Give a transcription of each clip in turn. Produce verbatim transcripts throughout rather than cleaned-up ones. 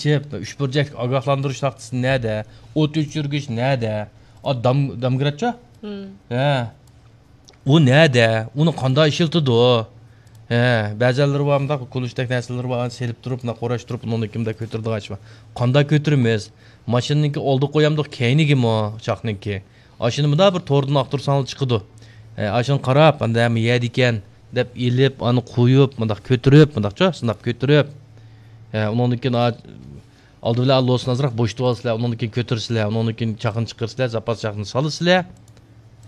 ئېچىپ، ئۈچ بۇرجەكلىك ئاگاھلاندۇرۇش تاختىسى نەدە؟ ئوت ئۆچۈرگۈچ نەدە؟ ئا، دام-، دامگراتچا؟ ھە. ئۇ نەدە؟ ئۇنى قانداق ئىشلىتىدۇ؟ ھە، بەزەنلىرى بار مۇنداق كۇلۇشتەك نەرسىلىرى بار، سېلىپ تۇرۇپ، مۇنداق قوراش تۇرۇپ، ئۇنىڭدىن كېيىن مۇنداق كۆتۈرىدىغان ئىش بار. قانداق كۆتۈرىمىز؟ ماشىنىنىڭكى ئالدىغا قويامدۇق، كەينىگىمۇ چاقنىڭكى؟ ئاشۇنى مۇنداق بىر توردىن ئاختۇرساڭلار چىقىدۇ. ھە، ئاشۇنى قاراپ، ئاندا ھەممە يەردىكەن دەپ ئېلىپ، ئانى قويۇپ، مۇنداق كۆتۈرۈپ، مۇنداقچۇ، سىناپ كۆتۈرۈپ. ھە، ئۇنىڭدىن كېيىن ئا-، ئالدى بىلەن لوسنى ئازراق بوشىتىۋالىسىلەر، ئۇنىڭدىن كېيىن كۆتۈرىسىلەر، ئۇنىڭدىن كېيىن چاقنى چىقىرىسىلەر، زاپاس چاقنى سالىسىلەر.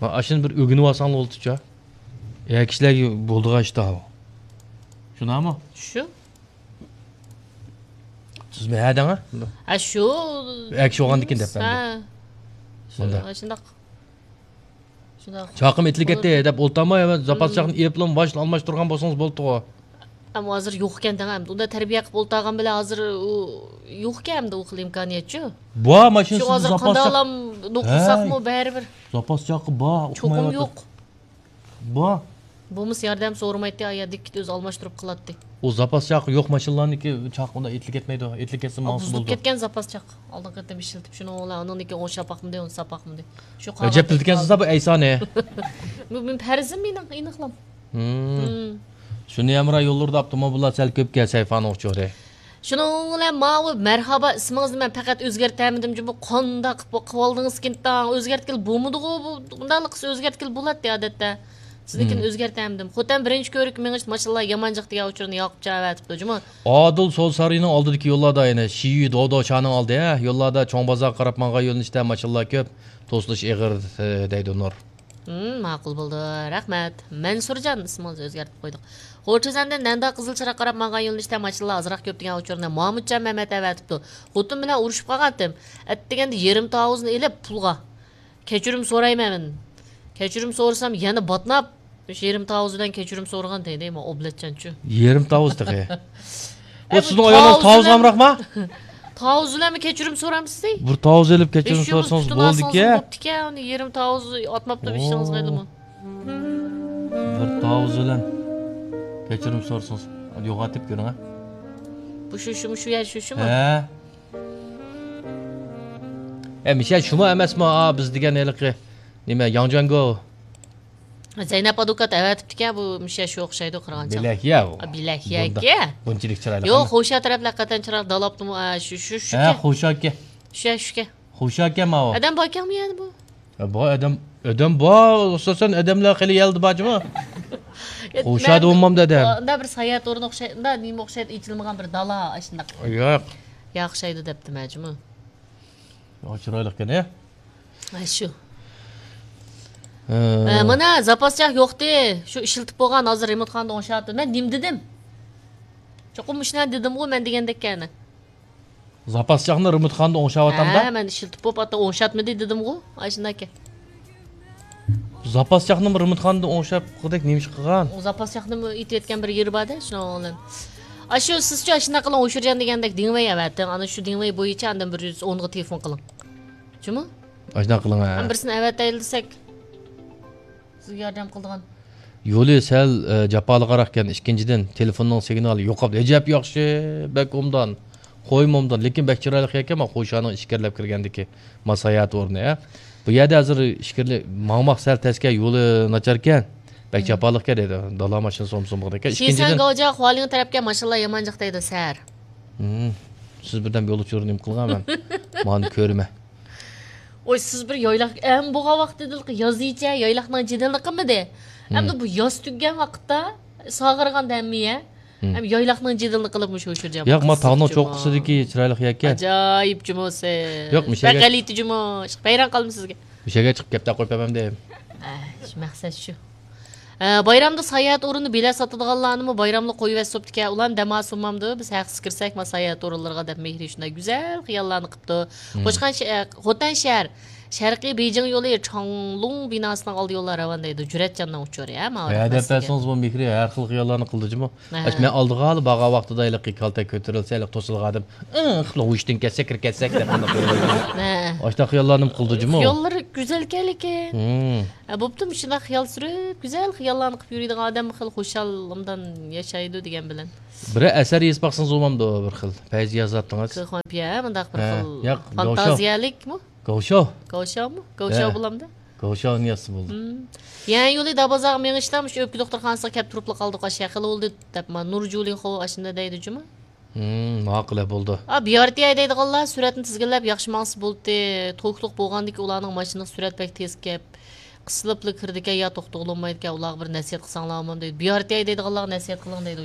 ھە، ئاشۇنى بىر ئۆگىنىۋالساڭلار بولدىچۇ. ئەر كىشىلەرگە بولىدىغان ئىش ئۇ. شۇنداقمۇ؟ شۇ. سىزمۇ ھە دەڭ، ھە؟ ھە، شۇ. ئەر كىشى بولغاندىن كېيىن دەپ بەردى. ھە. شۇ، مۇنداق. شۇنداق. شۇنداق. چاقىم ئېتىلىپ كەتتى دەپ ئولتۇرماي، زاپاس چاقنى ئېلىپلا باشنى ئالماشتۇرغان بولسىڭىز بولدىغۇ. ئەمما ھازىر يوق ئىكەن دەڭ، ئەمدى ئۇنداق تەربىيە قىلىپ ئولتۇرغان بىلەن ھازىر ئۇ يوق ئىكەن، ئەمدى ئۇ خىل ئىمكانىيەتچۇ. بار، ماشىنىسىدا شۇ ھازىر زاپاس چاق. قانداقلام نوقۇلساقمۇ بەرىبىر. زاپاس چاقى بار، چوقۇم يوق. بار. بولمىسا ياردەم سورىمايتتى، ئايا دىككىت ئۆزى ئالماشتۇرۇپ قىلاتتى. ئۇ زاپاس چاقى يوق ماشىنىلارنىكى چاقى ئۇنداق ئېتىلىپ كەتمەيدۇ، ئېتىلىپ كەتسە ماڭسا بۇزۇلۇپ بولىدۇ. كەتكەن زاپاس چاق. ئالدىنقى قېتىم ئىشلىتىپ شۇنىڭ بىلەن ئۇنىڭدىن كېيىن ئوڭشاپ باقمىدى، ئۇنى ساپ باقمىدى. شۇ ئەجەب قاراپ بىلىدىكەنسىز بۇ ئەيسانى. بۇ مېنىڭ پەرزىم، مېنىڭ ئېنىقلام. ھىم. شۇنى ھەمراھ يوللىرىدا ئاپتوموبىللار سەل كۆپكەن سەيفانىڭ ئۇچۇرى. شۇنىڭ بىلەن ماۋۇ مەرھابا ئىسمىڭىزنى مەن پەقەت ئۆزگەرتەلمىدىم جۇمۇ، قانداق قىلىپ قىلىۋالدىڭىزكىن تاڭ، ئۆزگەرتكىلى بولمىدىغۇ بۇ، بۇنداقلا قىلسا ئۆزگەرتكىلى بولاتتى ئادەتتە. سىزنىڭكىنى ئۆزگەرتەلمىدىم. خوتەن بىرىنچى كۆۋرۈك مېڭىش ماشىنىلار يامان جىق دېگەن ئۇچۇرنى ياقۇپجان ئەۋەتىپتۇ جۇمۇ. ئادىل سول سارىيىنىڭ ئالدىدىكى يوللاردا يەنە شىيۈ دودو شانىڭ ئالدى، ھە، يوللاردا چوڭ بازارغا قاراپ ماڭغان يۆنىلىشتە ماشىنىلار كۆپ، توسۇلۇش ئېغىر، ھە، دەيدۇ نۇر. ھىم، ماقۇل بولدى. رەھمەت. مەنسۇرجان ئىسمىڭىزنى ئۆزگەرتىپ قويدۇق. غورچىزەندىن نەندا قىزىل چىراغ قاراپ ماڭغان يۆنىلىشتە ماشىنىلار ئازراق كۆپ دېگەن ئۇچۇرنى مامۇتجان مەمەت ئەۋەتىپتۇ. خوتۇن بىلەن ئۇرۇشۇپ قالغانتىم. ئەتىگەندە يېرىم تاۋۇزنى ئېلىپ پۇلغا. كەچۈرۈم سورايمەن مەن. كەچۈرۈم سورىسام يەنە باتناپ، مۇشۇ يېرىم تاۋۇز بىلەن كەچۈرۈم سورىغان دەيدۇ، مانا ئوبلەتچانچۇ. يېرىم تاۋۇز تېخى. ئۇ ئەي، بۇ سىزنىڭ ئايالىڭىز تاۋۇز تاۋۇز بىلەن ئامراقما؟ تاۋۇز بىلەنمۇ كەچۈرۈم سورامسىز دەي؟ بىر تاۋۇز ئېلىپ كەچۈرۈم سورىسىڭىز بولىدىكەن. بوپتىكەن، ئۇنى يېرىم تاۋۇز ئاتماپتۇ ئىشىڭىزغا ئېلىمۇ. بىر تاۋۇز بىلەن كەچۈرۈم سورىسىڭىز. يوغان تېپىپ كۆرۈڭ، ھە. بۇ شۇ، شۇمۇ، شۇ يەر شۇ، شۇمۇ؟ ھە. ئە، مىشە شۇمۇ ئەمەسمۇ؟ ئا، بىز دېگەن ھېلىقى نېمە، ياڭجياڭگو. زەينەپ ئادۋوكات ئەۋەتىپتىكەن، بۇ مىشە شۇ ئوخشايدۇ، قارىغانچە. بىلەكيە ئۇ. ئا، بىلەكيەكە. بۇندا-، بۇنچىلىك چىرايلىق يوق، ئەمەس. خوشا تەرەپلەر قەتەن چىرايلىق دالاپتىمۇ، ئا، شۇ، شۇ، شۇ. ھە، خوشاكە. شۇ، شۇكە. خوشاكە ماۋۇ. ئادەم باركەنمۇ يەنە بۇ؟ ھە، بار ئادەم، ئادەم بار، ئاساسەن ئادەملەر خېلى يەلدە بار جۇمۇ. خوشا دېۋالمامدۇ ئادەم. ئۇنداق بىر ساياھەت ئورنى ئوخشايدۇ، ئۇنداق نېمە ئوخشايدۇ، ئېچىلمىغان بىر دالا، ئاشۇنداق. ياق. ياق، ئوخشايدۇ دەپتىمەن جۇمۇ. ياق، چىرايلىقكەن، ھە؟ ھە، شۇ. ھە. ئە، مانا زاپاس چاق يوقتى. شۇ ئىشلىتىپ بولغان، ھازىر رېمونتخانىدا ئوڭشاۋاتىدۇ. مەن نېمە دېدىم؟ چوقۇم مۇشۇنى دېدىمغۇ مەن دېگەندەككەن. زاپاس چاقنى رېمونتخانىدا ئوڭشاۋاتامدا؟ ھە، مەن ئىشلىتىپ بولۇپ، ئاتا ئوڭشاتمىدى دېدىمغۇ. ئاشۇنداككەن. زاپاس چاقنىمۇ رېمونتخانىدا ئوڭشاپ قىلدەك نېمە ئىش قىلغان؟ ئۇ زاپاس چاقنىمۇ ئېتىۋەتكەن بىر يېرى بار-دە، شۇنىڭ بىلەن. ئاشۇ سىزچۇ ئاشۇنداق قىلىڭ، ئوشۇرجان دېگەندەك دېڭىۋەي ئەۋەتىڭ. ئانا شۇ دېڭىۋەي بويىچە ئاندىن بىر يۈز ئونغا تېلېفون قىلىڭ. جۇمۇ؟ ئاشۇنداق قىلىڭ، ھە. ھەم بىرسىنى ئەۋەتەيلى دېسەك، سىزگە ياردەم قىلىدىغان. يولى سەل، ئە، جاپالىقراقكەن. ئىككىنچىدىن، تېلېفوننىڭ سىگنالى يوقاپتۇ. ئەجەب ياخشى، بەك ئوبدان. قويمۇ ئوبدان. لېكىن بەك چىرايلىق يەركەن، مانا، قوشانىڭ ئىچكىرىلەپ كىرگەندىكى، ما، ساياھەت ئورنى، ھە. بۇ يەردە ھازىر ئىچكىرىلەپ ماڭماق سەل تەسكەن، يولى ناچاركەن. بەك جاپالىقكەن دەيدۇ. دالا ماشىنىسى سومسۇمغىدەكەن. شىسەن ئىككىنچىدىن، گاۋجيا خۇالىڭ تەرەپكە ماشىنىلار يامان جىق دەيدۇ، سەر. ھىم. سىز بىردەم يول ئۇچۇرى نېمە قىلغان مەن؟ مانا كۆرىمەن. ۋاي، سىز بىر يايلاق، ئەم، بولغان ۋاقتىدىلا يازىچە يايلاقنىڭ جېدىلىنى قىلمىدى. ئەمدى بۇ ياز تۈگىگەن ۋاقىتتا ساغىرىغان دەممىيە. ئەم، يايلاقنىڭ جېدىلىنى قىلىپ مۇشۇ ئۇچۇر جاۋاب ياق، ما تاغنىڭ چوققىسىدىكى چىرايلىق يەككە. ئەجايىپ جۇمۇ سىز. ياق، مىشەگە بەك غەلىتە جۇمۇ. ۋەيران قالدىم سىزگە. مىشەگە چىقىپ گەپ تاقىپ قويۇپ بەرمەمدىم. ئە، شۇ مەقسەت شۇ. ئە، بايرامدا ساياھەت ئورنىدا بېلەت ساتىدىغانلارنىمۇ بايراملىق قويۇۋەتسە بوپتىكەن. ئۇلارنى دەم ئالسۇن بولمامدۇ؟ بىز ھەقسىز كىرسەك، ما ساياھەت ئورۇنلىرىغا دەپ مېھرى شۇنداق گۈزەل خىياللارنى قىپتۇ. قوچقان شە-، ئە، خوتەن شەھەر، شەرقىي بېيجىڭ يولى چاڭلۇڭ بىناسىنىڭ ئالدى يوللار راۋان دەيدۇ. جۈرئەتجاننىڭ ئۇچۇرى، ھە، ماۋۇ ھە، دەپ بەرسىڭىز بۇ مېھرى ھەر خىل خىياللارنى قىلدى جۇمۇ. ھە. ئاش مەن ئالدىغا بارغان ۋاقتىدا ھېلىقى كالتەك كۆتۈرۈلسە، ھېلىقى توسۇلغان ئادەم، ئىڭ، قىپلا ھوشتىن كەتسە، كىرىپ كەتسەك دەپ قانداق قىلىدۇ؟ ھە. ئاشۇنداق خىياللارنى قىلدى جۇمۇ. خىياللىرى گۈزەلكەن لېكىن. مم. ھە، بوپتۇ، مۇشۇنداق خىيال سۈرۈپ، گۈزەل خىياللارنى قىلىپ يۈرىدىغان ئادەم خېلى خۇشال ئوبدان ياشايدۇ دېگەن بىلەن. بىرەر ئەسەر يېزىپ باقسىڭىز بولمامدۇ، بىر خىل پەيزى يازاتتىڭىز. كېخۇانپيە، مۇنداق بىر ھە، خىل ياق، گاۋشاۋ. فانتازىيەلىك مۇ؟ گاۋشاۋ. گاۋشاۋمۇ؟ گاۋشاۋ ھە. بولامدۇ؟ گاۋشاۋنى يازسا بولدى. يەنە يولى دابازاغا مېڭىشتا مۇشۇ ئۆپكە دوختۇرخانىسىغا كەپ تۇرۇپلا قالدۇق، ئاشۇ خېلى بولدى دەپ، ما، نۇرجۇلىن خو ئاشۇنداق دەيدۇ جۇمۇ. مم، ماقۇل بولدى. ئا، بيارتىياي دەيدىغانلار سۈرەتنى تىزگىنلەپ ياخشى ماڭسا بولدى. توكلۇق بولغاندىكى ئۇلارنىڭ ماشىنىغا سۈرەت بەك تېز كەپ، قىسىلىپلا كىرىدىكەن يا توختىغىلى بولمايدىكەن، ئۇلارغا بىر نەسىھەت قىلساڭلارمۇ دەيدۇ. بيارتىياي دەيدىغانلارغا نەسىھەت قىلىڭ دەيدۇ.